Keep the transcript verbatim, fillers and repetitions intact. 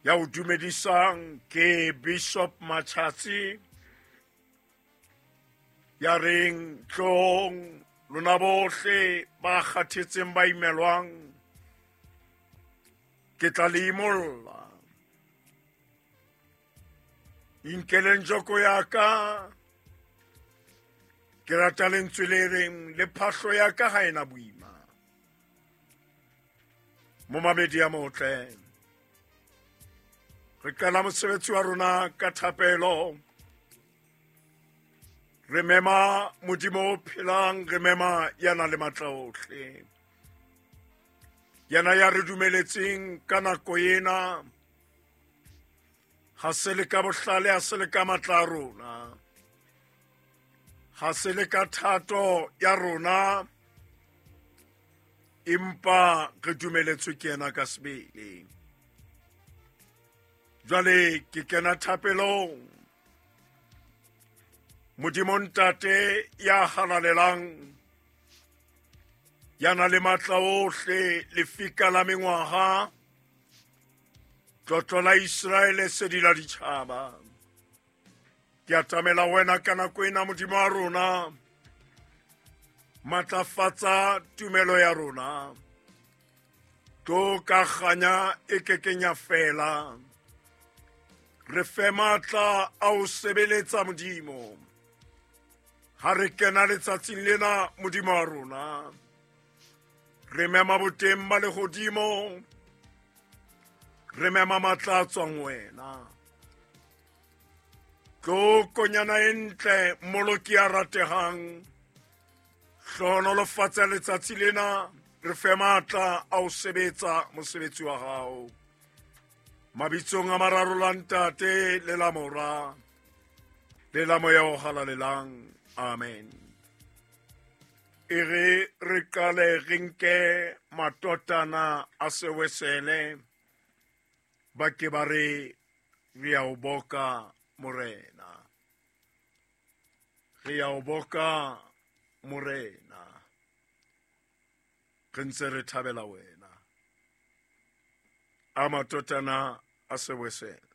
Ya o dumedisang ke Bishop Machatsi ya reng tlong lona bohle ba kgathetseng ba imelwang ke tla le imolla. Inkeleng joko ya ka, ke rata lentswe le reng le phahlo ya ka ha ena boima. Momamedi ya motle, re qala mosebetsi wa rona ka thapelo. Re mema Modimo o phelang, re mema ya nang le matla ohle, yena ya re dumeletseng ka nako ena. Ha se le ka bohlale, ha se le ka matla a rona, ha se le ka thato ya rona, empa re dumeletswe ke yena ka sebele. Jwale ke kena thapelong. Modimo Ntate ya halalelang, ya nang le matla ohle, lefika la mengwaha, tlotlo la Iseraele, sedi la ditjhaba. Ke atamela wena ka nako ena, Modimo wa rona. Matlafatsa tumelo ya rona. Tlo ka kganya e kekeng ya fela. Re fe matla a ho sebeletsa Modimo. Ha re kena letsatsing lena, Modimo wa rona, re mema boteng ba lehodimo, re mema matla a tswang wena. Tlo konyana e ntle, Mmoloki ya ratehang, hlohonolofatsa letsatsi lena, re fe matla a ho sebetsa mosebetsi wa hao. Mabitsong a mararo la Ntate le la Mora le la Moya o Halalelang, amen. E re re qale re nke matotana a sewesele, ba ke ba re re a o boka Morena, re a o boka Morena, re ntse re thabela wena. A matotana a sewesele.